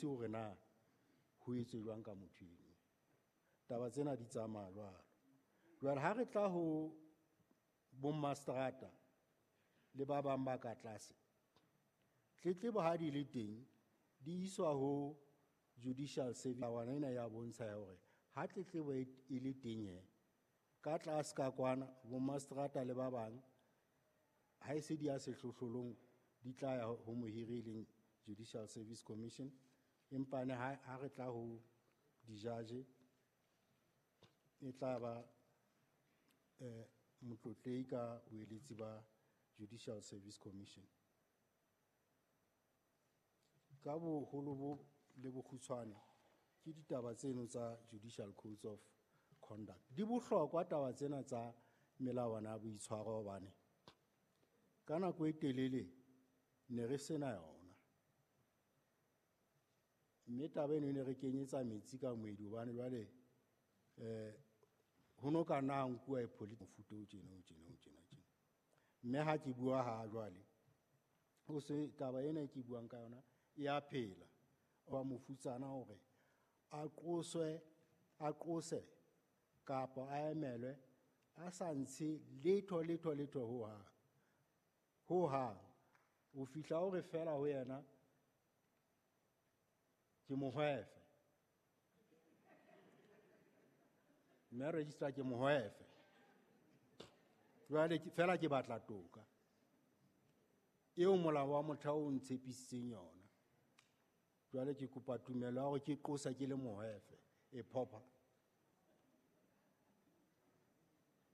Bontshe hore na ho etswe jwang ka motho eno. Taba tsena di tsamaya jwalo. Jwale ha re tla ho bommastrata le ba bang ba ka tlase, tletlebo ha di le teng di iswa ho judicial service. Melawana ena ya bontsha ya hore ha tletlebo e le teng he, ka tlase ka kwana bommastrata le ba bang ha e se di ya sehlohlolong di tla ya ho mohiri e leng Judicial Service Commission. Empa ne ha re tla ho dijaje e tla ba motlotlehi ka boeletsi ba Judicial Service Commission. Ka boholo bo le bokgutshwane ke ditaba tseno tsa Judicial Codes of Conduct. Di bohlokwa taba tsena tsa melawana ya boitshwaro hobane ka nako e telele ne re sena yona. Mme taba eno e ne re kenyetsa metsi ka moedi hobane jwale ho no ka nna ha nkuwa e mofuta o tjena, o tjena, o tjena, tjena. Mme ha ke bua ha jwale, ho se taba ena e ke buang ka yona e a phela. Wa mofutsana hore a qoswe, a qose kapa a emelwe a sa ntshe letho, letho, letho ho hang. Ho hang. O fihla o re fela ho yena ke mohwefe. Mme registrar ke mohwefe. Jwale fela ke batla toka eo molao wa motheo o ntshepisitseng yona. Jwale ke kopa tumelo ya hore ke qosa ke le mohwefe e phopha.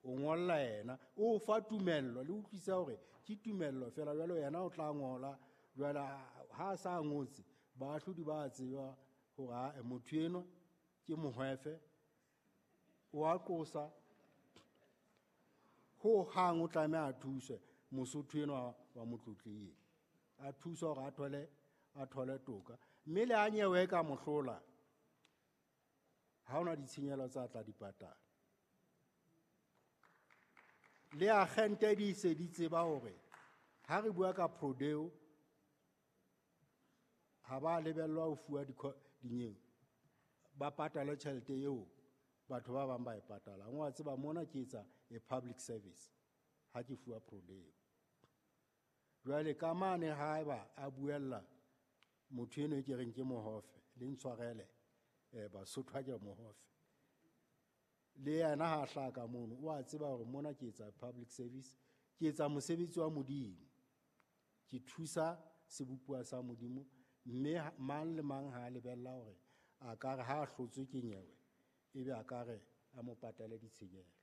O ngolla yena, o fa tumello, le utlwisa hore ke tumello fela. Jwale yena o tla ngola, jwale ha a sa ngotse, baahlodi ba tseba hore ha motho enwa ke mohwefe, o a qosa, ho hang o tlameha a thuswe Mosotho enwa wa motlotlehi, a thuswe hore a thole toka. Mme le ha nyewe ka mohlola, ha hona ditshenyehelo tsa tla di patala. Le agente di se di tseba hore ha re bua ka prodeo, ha ba lebellwa ho fuwa dinyewe, ba patale tjhelete eo batho ba bang ba e patalang. Wa tseba mona ke etsa a public service ha ke fuwa prodeo. Jwale ka mane haeba a buella motho eno e ke reng ke mohofe, le ntshwarele, Basotho ha ke re mohofe. Le yena ha hlaha ka mono, o a tseba hore mona ke etsa public service, ke etsa mosebetsi wa Modimo, ke thusa sebopuwa sa Modimo, mme mang le mang ha a lebella hore a ka re ha a hlotswe ke nyewe, ebe a ka re a mo patale ditshenyehelo.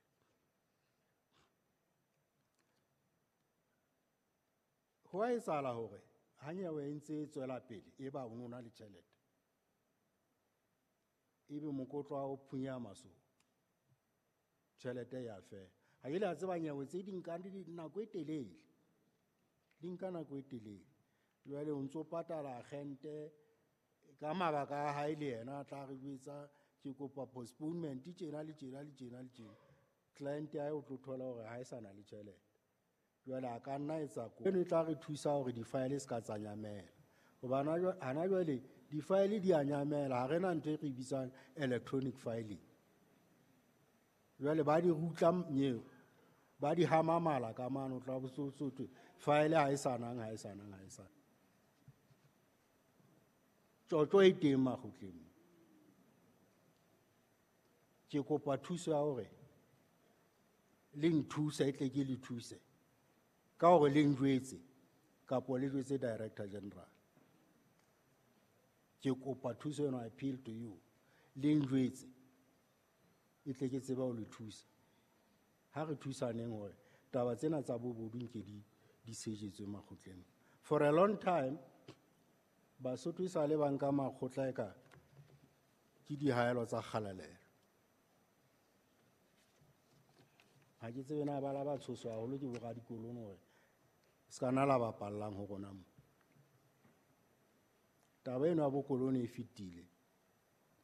Ho a etsahala hore ha nyewe e ntse e tswela pele, e ba o no na le tjhelete, ebe mokotlo wa o phunyeha masoba, tjhelete ya fela. Ha ke le a tseba nyewe tse di nkang nako e telele, di nka nako e telele. Jwale o ntso patala agente ka mabaka a hae, le yena a tla re jwetsa ke kopa postponement tjena le tjena le tjena le tjena. Client ya hae o tlo thola hore ha e sa na le tjhelete. Jwale a ka nna etsa kopo. Eno e tla re thusa hore di-file se ka tsa nyamela. Hobane hana jwale di-file di a nyamela, ha re na ntho e re bitsang electronic filing. Jwale ba di rutla nyeo, ba di hama mala ka mane, o tla bo so thwe file ha e sa nang, ha e sa nang, ha e sa. Tjotjo e teng makgotleng. Ke kopa thuso ya hore le nthuse, e tle ke le thuse ka hore le njwetse kapo le jwetse Director General. Ke kopa thuso eno, I appeal to you, le njwetse e tle ke tsebe ho le thusa. Ha re thusaneng hore taba tsena tsa bobodu nke di sejetswe makgotleng. For a long time, Basotho e sa le ba nka makgotla e ka ke dihaelo tsa kgalalelo. Ha ke tsebe na ba la ba tshoswa haholo ke boradikolone hore se ka na la bapallang ho rona mo. Taba eno ya bokolone e fetile.